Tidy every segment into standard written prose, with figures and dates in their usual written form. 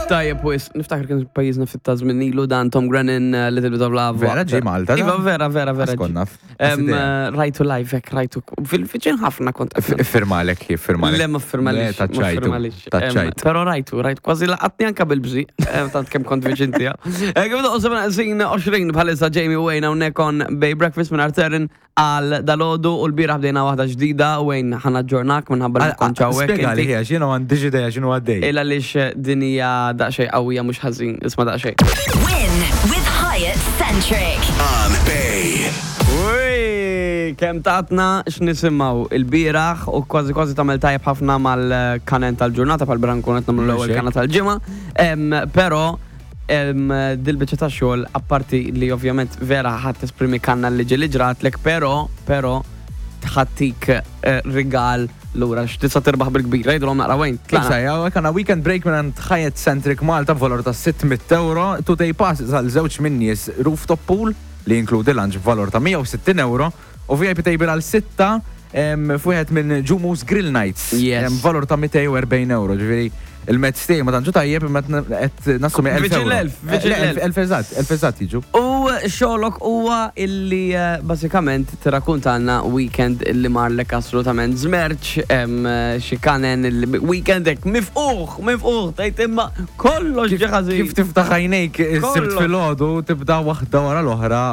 Tajjeb wis, niftakar kien pajjiżna ftit ta' żmien ilu dan Tom Grennan, uh, Little Bit of Love. Vera ġie Malta, Iva, vera, vera, vera. Kont naf. Eh, Rajtu live, hekk rajtu. Fil-fiċin ħafna kont. Firmalek, firmalek. Le, ma firmalix. Taċċajtu. Taċċajt. Pero rajtu, rajtu, kważi laqatni anka bil-bżi, tant kemm kont viċin tiegħu. Eh, kif doqgħu 7 20 bħalissa Jamie Wayne hawnhekk on Bay Breakfast minn Arterin għal dalodu u l-bieraħ bdejna waħda ġdida Wayne ħana ġġornak minħabba li kont hawnhekk. Spjega li hija x'jiena m'għandix idea x'inhu għaddej. Il għaliex din hija daqsxejn qawwija mhux ħażin, isma' daqsxejn. Win with Hyatt Centric. On Bay. Ui, kemm tatna x'nisimgħu il-bieraħ u kważi kważi tagħmel tajjeb ħafna mal-kanen tal-ġurnata bħal bieraħ nkun qed nagħmlu l-ewwel kana tal-ġimgħa. Però dil-biċċa ta' xogħol apparti li ovvjament vera ħadd tesprimi kanna li ġieli ġratlek, però però tħattik eh, rigal lura x'tista' tirbaħ bil-kbir. Jgħidulhom naqra wejn. Issa, hawnhekk għandna weekend break minn Hyatt Centric Malta b'valur ta' 600 euro, two day pass għal żewġ minn nies rooftop pool li jinkludi lunch b'valur ta' 160 euro u VIP table għal sitta f'wieħed minn Ġumus Grill Nights. Yes. Valur ta' 240 euro, ġifieri il-mezz tiegħi ma tantx tajjeb imma qed nassumi 1000 Viċin euro. l-elf, viċin Le, l-elf. elf eżatt, elf eżatt jiġu. U xogħlok huwa illi eh, bażikament tirrakkuntalna weekend illi marlek assolutament żmerċ, hemm, eh, xi kanen illi weekend hekk mifquħ, mifquħ, tgħid imma kollox ġie ħażin. Kif tiftaħ għajnejk is-Sibt Kollox. filgħodu tibda waħda wara l-oħra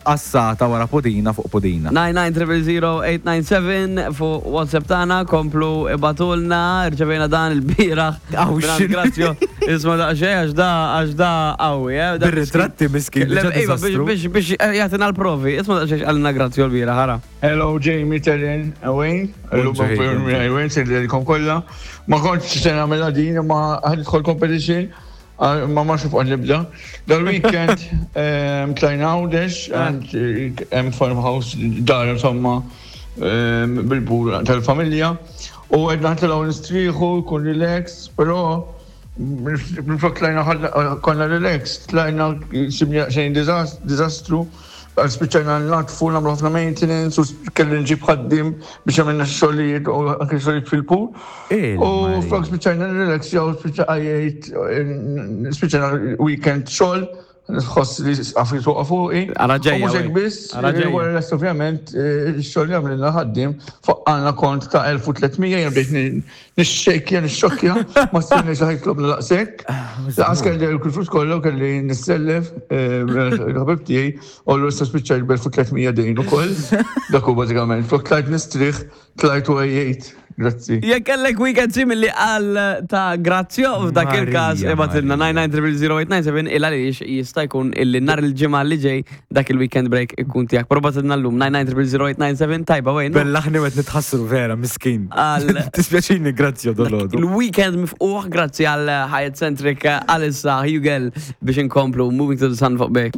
Qassata wara pudina fuq pudina. 99000897 fuq WhatsApp tagħna komplu ibatulna, rċevejna dan il-bieraħ. Aw, Mingħand x'inhi? Grazzjo, isma' daqsxejn għax da għax da qawwi, eh. Da Bir-ritratti miskin, Le, diġà iva, biex diżastru. biex biex jagħtina l-provi. Isma' daqsxejn x'qalilna Grazzjo l-bieraħ, ara. Hello Jamie, Terren, Wayne, illum Bonġu, miegħi Wayne, sejlilkom kollha. Ma kontx se nagħmilha din imma ħa nidħol competition. Ah, ma ma xuf nibda. Dal-weekend ehm, tlajna Għawdex, għand eh, hemm farmhouse dar insomma ehm, bil-bur tal-familja. U għedna ħtilgħu nistrieħu, kun relax, però minflok tlajna konna relax, tlajna sibni xejn diżastru. Għal spiċċajna natfu nagħmlu ħafna maintenance u kelli nġib ħaddim biex għamilna xogħlijiet u anke xogħlijiet fil-pool. U flok spiċċajna nirrelaxjaw, spiċċajt spiċċajna weekend xogħol, nħoss li għafri tuqa fuqi. Ara ġejja. U mhux hekk biss, wara l-est ovvjament x-xogħol li għamlilna ħaddim faqqalna kont ta' 1300 jien bdejt Nixxejkja, nixxokkja, ma stenniex li ħajtlobna daqshekk. Laqas kelli l-flus kollha u kelli nissellef eh, il-ħabib tiegħi u l issa spiċċajt b'1300 dejn ukoll. Dak hu bażikament. Flok tlajt nistrieħ, tlajt u għejjejt. Grazzi. Jekk kellek weekend simili għal ta' Grazzio, f'dak il-każ Marija, ibatilna Marija. 99000 il għaliex jista' jkun illi nhar il-ġimgħa li ġej dak il-weekend break ikun tiegħek. Però batilna llum 9900087 tajba wejn. Bellaħni u qed nitħassru vera, miskin. Għal- Tispjaċini, grazzi dolodu. Il-weekend mifquħ grazzi għal Hyatt Centric għalissa Hugel biex inkomplu Moving to the Sun fuq bej.